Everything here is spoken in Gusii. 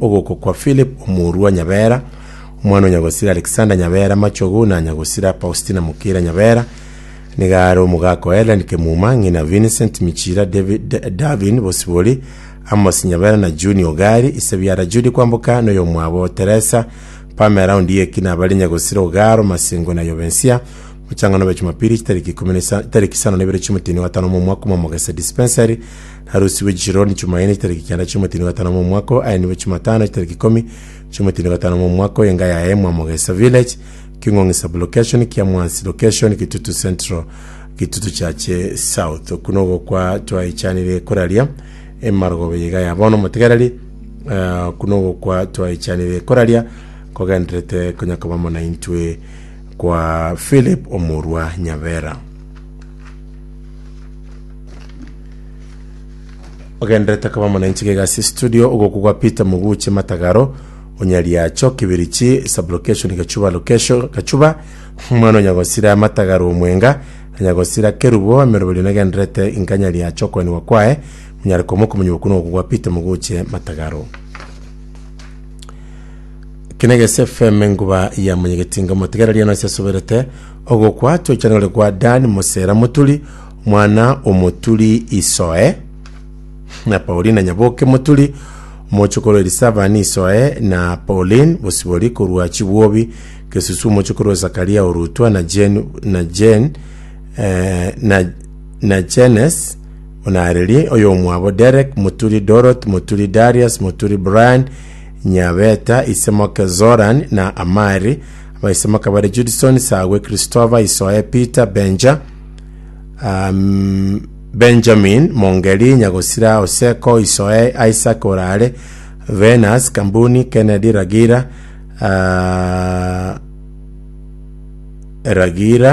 Ogokwa kwa Philip omorua Nyabera, omwana o Nyagosira Alexander Nyabera Machogu na Nyagosira Paustina Mukira Nyabera, nigo are omogaka o Hellen Kemuma, ng'ina Vincent Michira David, Davin Bosibori, Amos Nyabera na Juni Ogari, ise biara Judy Kwamboka na oyomwabo Teresa Pamela Ondieki na abare Nyagosira Ogaro Masingo na Yobensia. Mochang'ano bwe Jumapili chitariki ikomi na isa- chitariki isano na ibere chi'omotienyi o gatano omwaka omwamogese dispensary Narusigwe Jironi Chumaine chitariki kianda chi'omotienyi o gatano omwaka oo, aye nigo Chumatano chitariki ikomi chi'omotienyi o gatano omwaka oyo enga yaye Mwamogesa Village, King'ong'i Sub-location, Kiamwansi Location, Kitutu Central, Kitutu Chache South. Okwo nogokwa twaichanire koraria emarogoba eye iga ya bono omotegereri eh, okwo nogokwa twaichanire koraria kogenderete konya koba amo naintwe kwa Philip Omorwa Nyabera. Ogenderete koba omonanchi gaiga ase studio ogokwa gwa Peter Muguche Matagaro Onyariacho Kibirichi sublocation Gachuba location Gachuba omwana o Nyagosira Matagaro Omwenga na Nyagosira Kerubo emeroberio negenderete inka Nyariacho okoenigwa kwaye monyare komoka omonyi okwo nogokwa gwa Peter Muguche Matagaro. Kinegese FM enguba ya monyegetinga omotegereria nonsi asoberete ogokwa twechanore kwa Dan Mosera Moturi omwana omoturi Isoe na Paulina Nyaboke Moturi omochokoro Elisabani Isoe na Pauline Bosibori korwa Chibwobi Kesusu omochokoro Zakaria Orutwa na Jane na Jane eh, na na Jenes Onareri oyomwabo Derek Moturi Dorothy Moturi Darius Moturi Brian Nyabeta, Isemoke Zoran, na Amari, abaisemoke bare Judson, Sagwe, Christopher, Isoe, Peter, Benja, um, Benjamin, Mongeri, Nyagosira, Oseko, Isoe, Isaac Orare, Venus, Kambuni, Kennedy, Ragira, uh, Ragira.